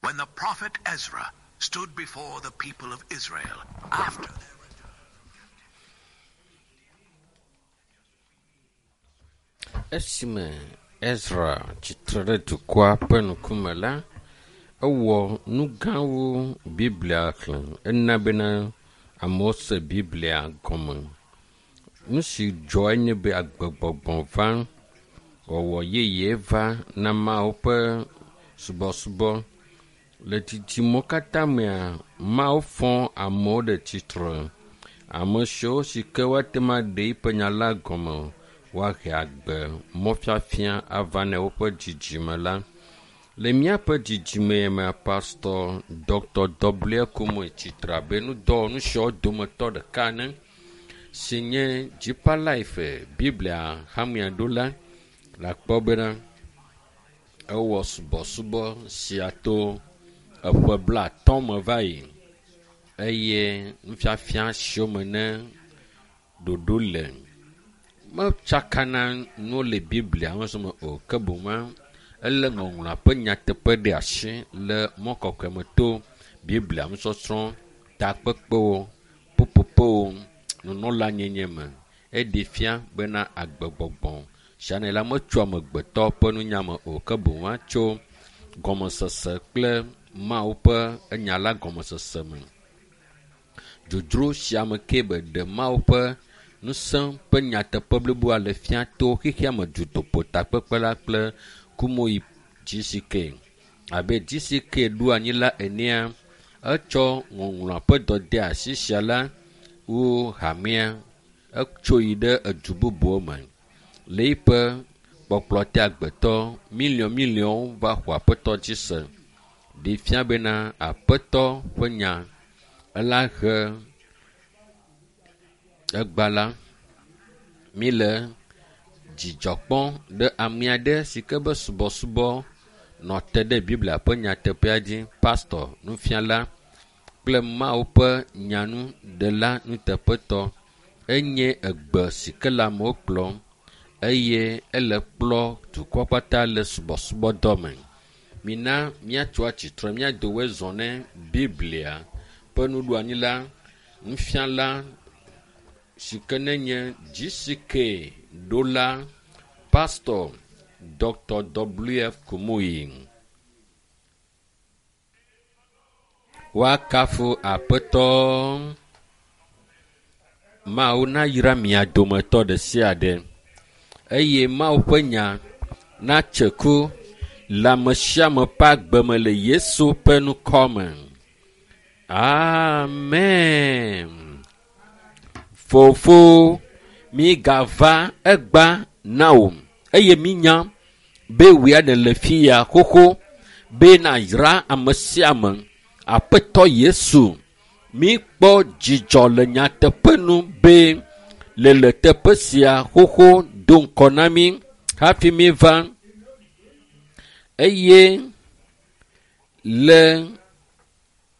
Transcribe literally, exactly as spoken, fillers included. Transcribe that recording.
When the prophet Ezra stood before the people of Israel after their Esime Ezra tsitre ɖe dukɔa ƒe ŋkume la, ewɔ nu gãwo Biblia xlẽ. Ena bena amewo se Biblia gɔme. Nu si dzɔ enye be agbegbɔgbɔ va, wɔwɔ yeye va na Mawu ƒe subɔsubɔ. Le dzidzimewo katã mea, Mawu fɔ amewo ɖe tsitre. Ame siwo si ke woate ŋu aɖe eƒe nya la gɔme o, woahe agbe mɔfiafia ava ne woƒe dzidzime la. Le míaƒe dzidzime mea, Pastor Dr. W. Kumuyi tsitre abe nudɔwɔnu siawo dometɔ ɖeka ene si nye Deeper Life Biblia hamea ɖola. Le akpɔ bena ewɔ subɔsubɔ sia to eƒe blaatɔ̃ me va yi eye nufiafia siwo me ne ɖoɖo le metsakana nuwo le Biblia me me o ke boŋ ele ŋɔŋlɔa ƒe nyateƒe ɖe asi le mɔ kɔkɔe me to Biblia nusɔsrɔ̃, takpekpewo, ƒuƒoƒewo, nunɔlanyenye me. Eɖe fia bena agbegbɔgbɔ sia ne la metso amegbetɔ ƒe nunya me o ke boŋ atso gɔmesese kple Mawu ƒe enya la gɔmesese me. Dzodzro sia me ke be ɖe Mawu ƒe ŋusẽ ƒe nyateƒe bliboa le fia to xexea me dutoƒo takpekpe la kple Kumuyi GCK. Abe GCK ɖo anyi la enea, etsɔ ŋɔŋlɔa ƒe dɔdeasi sia la wu hamea etso yi ɖe edu bubuwo me. Le eƒe kpɔkplɔ te agbetɔ miliɔn miliɔnwo va xɔ aƒetɔ dzi se. Ɖe fia bena aƒetɔ ƒe nya ela he egba la mi le dzidzɔ kpɔm ɖe ame aɖe si ke be subɔsubɔ nɔ te ɖe Biblia ƒe nyateƒea dzi, pastor, nufiala kple Mawu ƒe nyanuɖela nuteƒetɔ. Enye egbe si ke le amewo kplɔm eye ele kplɔ dukɔ kpata le subɔsubɔdɔ me. Mina míatso atsitre míado woe zɔ ne Biblia ƒe nuɖoanyi la, nufiala si ke nenye GCK ɖola Pastor Dr. W. F. Kumuyi. Woakafu Aƒetɔ. Mawu nayra mia dometɔ ɖe sia ɖe eye Mawu ƒe nya natse ku le ame sia ame ƒe agbe me le Yesu ƒe ŋkɔ me. Amen. Fofo, migava egba na wò eye minya be wòe nèle fi ya xoxo be nàyra ame sia ame. Aƒetɔ Yesu, míkpɔ dzidzɔ le nyateƒe nu be le le teƒe sia xoxo do ŋkɔ na mí hafi míva eye le